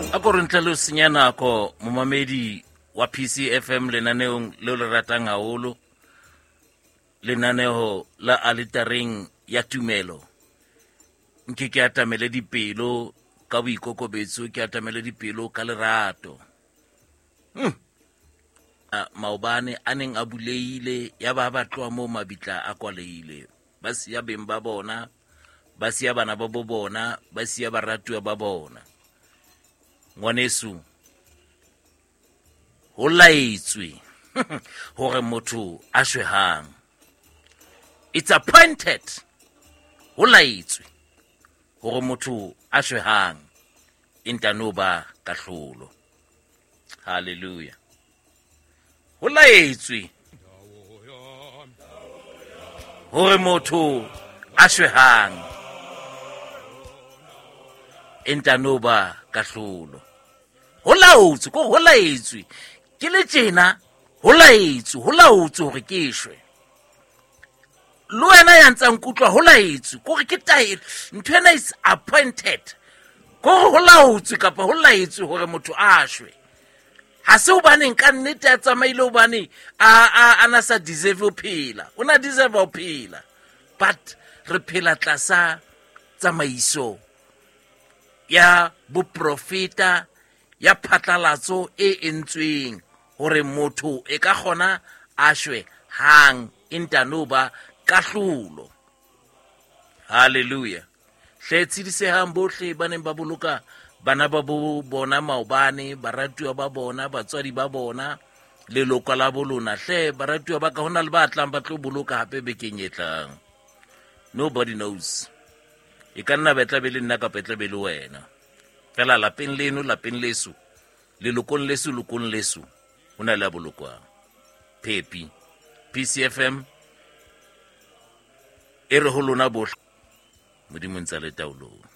A ko re ntle le ho senya nako, momamedi wa PCFM, lenaneong leo le ratang haholo, lenaneo la Aletareng ya Tumelo, nke ke atamele dipelo ka boikokobetso, ke atamele dipelo ka lerato. Maobane a neng a bulehile, ya ba ba tloha moo mabitla a kwalehile, ba siya beng ba bona, ba siya bana ba bo bona, ba siya baratuwa ba bona. Ngwaneso, ho laetswe hore motho a shwe hang. It's appointed. Ho laetswe hore motho a shwe hang, e ntano ba kahlolo. Hallelujah. Ho laetswe hore motho a shwe hang, e ntano ba kahlolo. Ho laotswe, ko ho laetswe ke le tjena, ho laetswe, ho laotswe hore ke shwe. Le wena ya ntsang kutlwa, ho laetswe, kore ke taelo, ntho ena is appointed, kore ho laotswe kapa ho laetswe hore motho a shwe. Ha se hobaneng ka nnete a tsamaile, hobane a na sa deserve ho phela, o na deserve ho phela, but re phela tlasa tsamaiso ya boprofeta ya phatlalatso e entsweng hore motho e ka kgona a shwe hang, e ntano ba kahlolo. Hallelujah. Hle tshedisehang bohle ba neng ba boloka bana ba bo bona maobane, baratuwa ba bona, batswadi ba bona, leloko la bolona. Hle baratuwa ba ka, hona le ba tlang ba tlo boloka hape bekeng e tlang. Nobody knows. E ka nna ba tla be le nna kapa e tla be le wena. Fela lapeng leno, lapeng leso, lelokong leso, lokong leso, ho na le a bolokwang. Phepi. PCFM e re ho lona bohle, Modimo ntse a le taolong.